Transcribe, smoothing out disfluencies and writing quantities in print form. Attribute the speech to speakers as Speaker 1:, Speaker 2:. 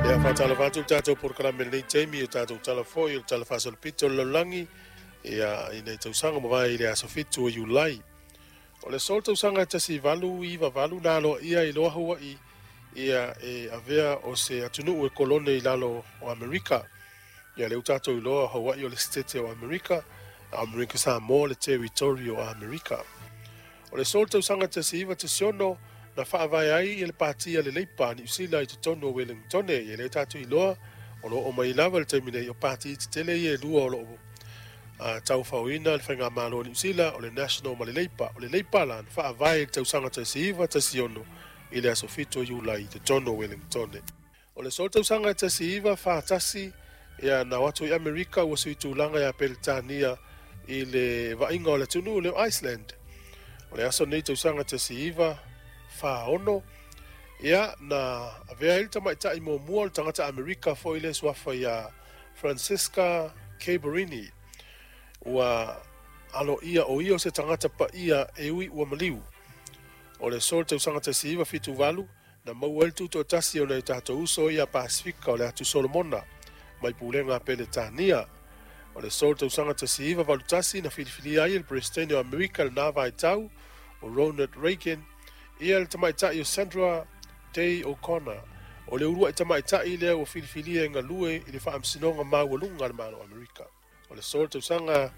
Speaker 1: Ia, faatalofa atu i le tatou polokalame i lenei taimi, o tatou tala foi o le Tala Faasolopito o le Lalolagi, ia, i nei tausaga mavae i le aso 7 o Iulai. O le aso le tausaga e 1898 na aloaia ai loa Hawaii, ia, e avea o se atunuu e kolone i lalo o Amerika. Ia, lea ua tatou iloa o Hawaii o le Setete o Amerika, a o Amerika Samoa le Territory o Amerika. O le aso le tausaga 1916 na faavae ai le Pati a le Leipa a Niu Sila i totonu o Wellingtone. Ia, lea tatou iloa o lo o mai lava le taimi nei o pati tetele ia e lua o lo o taufaoina le faigamalo o Niu Sila, o le National ma le Leipa. O le Leipa la na faavae i le tausaga 1916 i le aso 7 o Iulai i totonu o Wellingtone. O le aso le tausaga 1941, ia, na o atu i Amerika ua sui tulaga ia Peretania i le vaaiga o le atunuu lea o Iceland. O le aso lenei tausaga 1946, ia, na avea ai le tamaitai muamua o le tagata Amerika foi le suafa ia Francisca Caberini. Ua aloaia o ia o se tagata paia e ui ua maliu. O le aso le tausaga 1978 na maua ai le tutoatasi o nai o tatou uso ia Pasefika o le Atu Solomona mai pulega a Peretania. O le aso le tausaga 1981 na filifilia ai e le Peresetene o Amerika i lena vaitau o Ronald Reagan, ia, le tamaitai o Sandra Day O'Connor, o le uluai tamaitai lea ua filifilia e galue i le Faamasinoga Maualuga a le Malo o Amerika. O le aso le tausaga